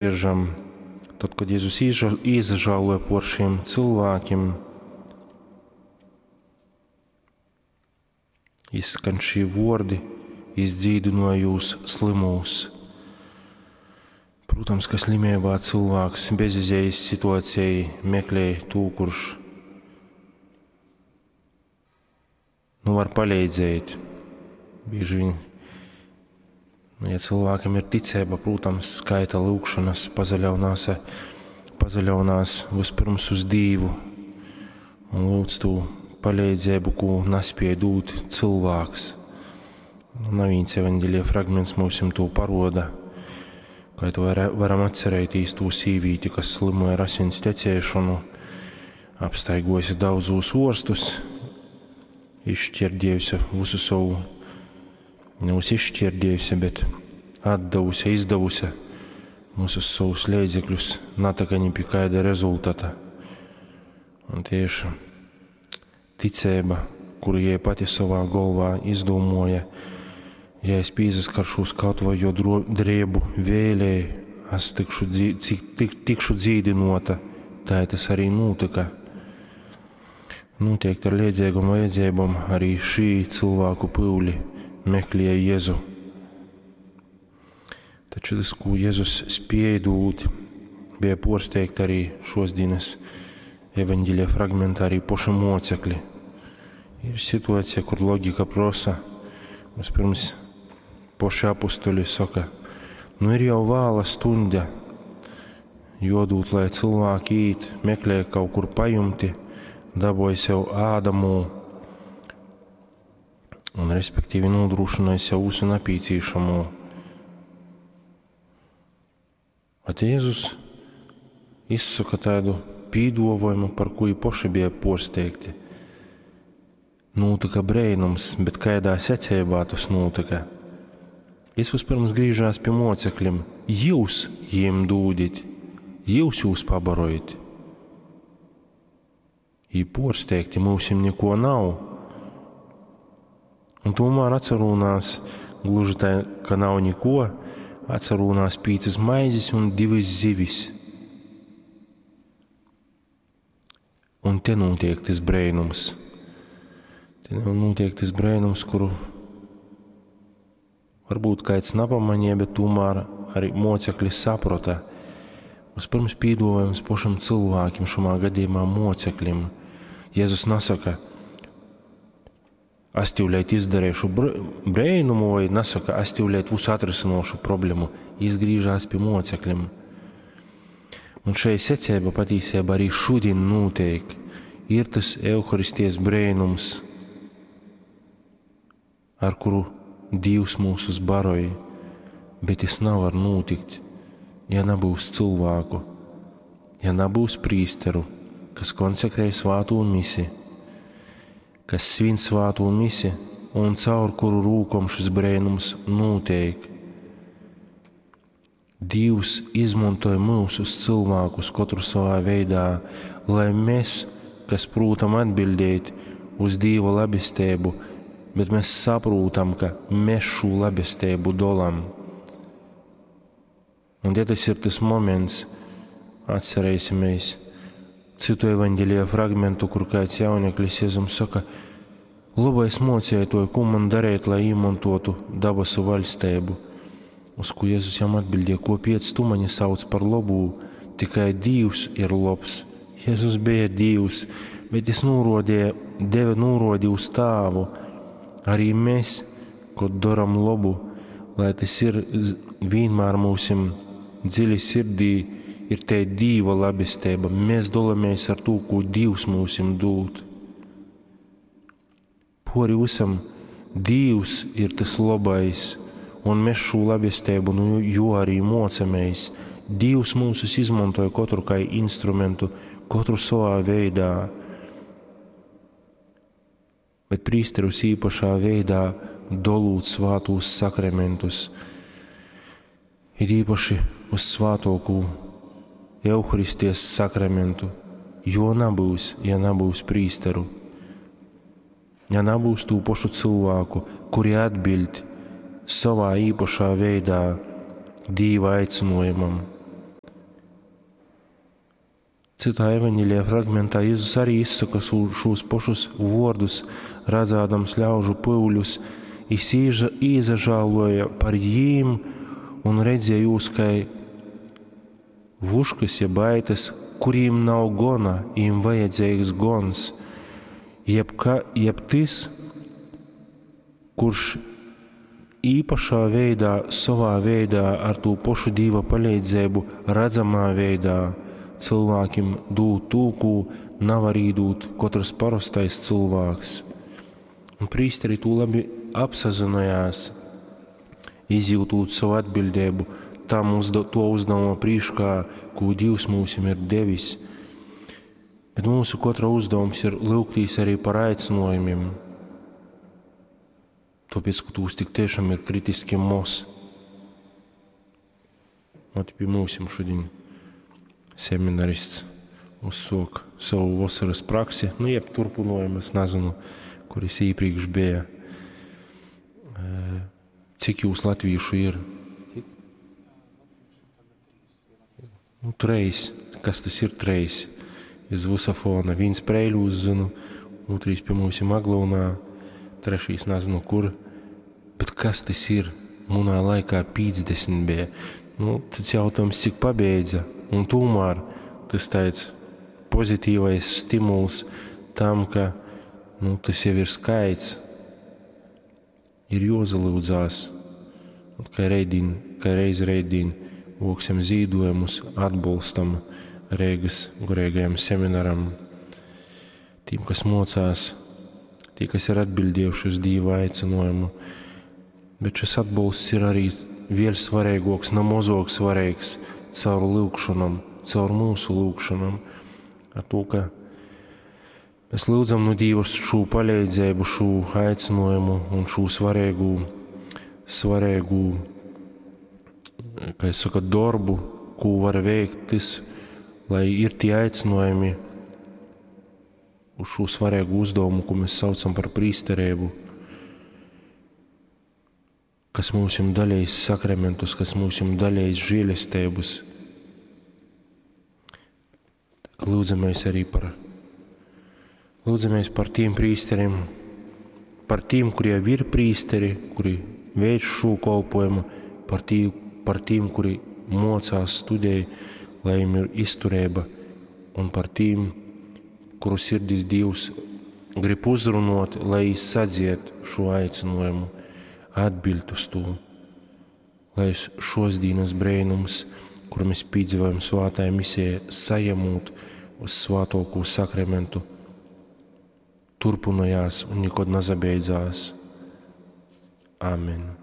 Dzieržam, tod, kod Jezus īsažāloja por šiem cilvēkiem, izskan šī vordi, izdzīdināja jūs slimūs. Protams, ka slimībā cilvēks bezizējas situācijai meklē tū, kurš nu, var palīdzēt. Bieži vien, nu, ja cilvēkam ir ticība, protams, skaita lūgšanas, pazaļaunās, pazaļaunās vispirms uz Dīvu un lūdz tū palīdzību, ko nespēja dūt cilvēks. Nu, nav viens evaņģēlija fragments mums to paroda, kā to var, varam atcerēties tū sīvīti, kas slimoja ar asins tecēšanu, apstaigojusi daudzus orstus, izšķirdējusi visu savu, nevis izšķirdējusi, bet atdevusi, izdevusi visus savus līdzekļus, nataka ni pie kāda rezultāta. Un tieši ticība, kuru jai pati savā galvā izdomāja, ja es pīzaskaršos kaut vai jo drēbu vēlē, es tikšu, cik, tik, tikšu dzīdinota, tā tas arī notika. Noteikti ar liedzīgām vajadzībām arī šī cilvēku pūli meklēja Jēzu. Taču tas, ko Jēzus spēja dūt, bija porsteigti arī šos dienas evaņģēlija fragmentā arī poša mocekļi. Ir situācija, kur loģika prosa, vispirms poši apustuļi saka, nu ir jau vāla stunda, jodūt, lai cilvēki īt, meklē kaut kur pajumti, dabūja sev ādamū un respektīvi nodrošināja sev visu nepieciešamo. Bet Jēzus izsaka tādu pīdovojumu, par ko poši bija porsteigti. Notika brēnums, bet kādā secībā tas notika? Jis vispirms griežās pie mocekļiem. Jūs jiem dūdit, jūs jūs pabarojat. Jī porsteigti, mūsim neko nav. Un tomēr atcerūnās, gluži tā, ka nav neko, atcerūnās pīcas maizes un divas zivis. Un te notiek tas brēnums. Te notiek tas brēnums, kuru varbūt kāds nepamanīja, bet tomēr arī mocekļi saprata. Vispirms pīdojums pašam cilvēkiem, šumā gadījumā mocekļim. Jēzus nesaka, es tīvlēt izdarīšu brēnumu, vai nesaka, es tīvlēt visu atrisinošu problēmu. Izgriežās pie mocekļiem. Un šai secība patiesībā arī šodien notiek. Ir tas Euharisties brēnums, ar kuru Dievs mūsus baroja, bet tas nevar notikt, ja nebūs cilvēku, ja nebūs prīsteru, kas konsekrē svāto misi, kas svin svāto misi un caur kuru rūkom šis brēnums notiek. Dievs izmantoja mūsus cilvēkus katru savā veidā, lai mēs, kas prūtam atbildēt uz Dieva labestību, bet mēs saprotam, ka mēs šo labestību dolam. Un ja tas ir tas moments, atcerēsimies citu evaņģēlija fragmentu, kur kāds jauneklis Jēzum saka, labais mocētoju, ko man darīt, lai iemantotu dabasu valstību? Uz ko Jēzus jam atbildēja, ko piec tu mani sauc par labu, tikai Dievs ir labs. Jēzus bija Dievs, bet jis norodīja, deva norodi uz tāvu. Arī mēs, kad daram labu, lai tas ir vienmēr mūsim dziļi sirdī, ir te Dieva labestība. Mēs dalamies ar to, ko Dievs mūsim dod. Pori visam Dievs ir tas labais, un mēs šo labestību nu, jo arī mocamies. Dievs mūsus izmantoja katru kā instrumentu, katru savā veidā. Bet prīsterus īpašā veidā dolūt svātūs sakramentus, ir īpaši uz svātokū Euharisties sakramentu, jo nebūs, ja nebūs prīsteru. Ja nebūs tū pašu cilvēku, kuri atbild savā īpašā veidā Dieva aicinājumam. Citā evaņģēlija fragmentā Jēzus arī izsaka šos pašus vōrdus, radzādams ļaužu pyuļus, jis īsažāloja par jīm un redzēja jūs kai vuškys, jeb aitas, kurīm nav gona, jīm vajadzīgs gons, jeb, ka, jeb tys, kurš īpašā veidā, sovā veidā, ar tū pošu Dīva palīdzību, redzamā veidā cilvēkiem dūt tū, ko navar īdūt katrs parastais cilvēks. Un prīsteri to labi apsazinājās, izjūtot savu atbildību tam uzda, to uzdevuma prīškā, ko Dievs mums ir devis. Bet mūsu katra uzdevums ir lūgtīs arī par aicinājumiem. Tāpēc, ka tūs tik tiešām ir kritiski moz. Ot pie mūsim šodien seminarists uzsok savu vasaras praksi, nu, jeb turpinājumu, es nezinu, kur es iepriekš bija. Cik jūs latviešu ir? Cik? Nu, treis. Kas tas ir treis? Iz visa fona. Viens Preiļūs zinu, otrs pie mums ir Aglounā, trešais nezinu kur. Bet kas tas ir? Munā laikā 50 bija. Nu, tas jautājums, cik pabeidza. Un tomēr tas tāds pozitīvais stimuls tam, ka nu, tas jau ir skaits, ir jozalūdzās. Un kā, reidīn, kā reiz reidīn voksim zīdojumus, atbalstam Rīgas garīgajam seminaram. Tiem, kas mocās, tie, kas ir atbildējuši uz Dieva aicinājumu. Bet šis atbalsts ir arī vēl svarīgāks, nav mazāk svarīgs caur lūgšanām, caur mūsu lūgšanām. Ar to, ka mēs lūdzam no Dieva šo palīdzību, šo aicinājumu un šo svarīgu, svarīgu, kā es saku, darbu, ko var veikt tas, lai ir tie aicinājumi uz šo svarīgu uzdevumu, ko mēs saucam par prīsterību, kas mums ir dalījis sakramentus, kas mums ir dalījis žēlestības. Lūdzamies arī par, lūdzamies par tiem prīsteriem, par tiem, kuri jau ir prīsteri, kuri veic šo kolpojumu, par, tī, par tiem, kuri mocās, studēja, lai viņiem ir izturība, un par tiem, kuru sirdis Dievs grib uzrunot, lai sadzied šo aicinājumu, atbild uz to, lai šos dienas brēnums, kur mēs piedzīvojam svētajā misijā, sajamot uz svētoko sakramentu, turpinājās un nekad nezabeidzās. Amen.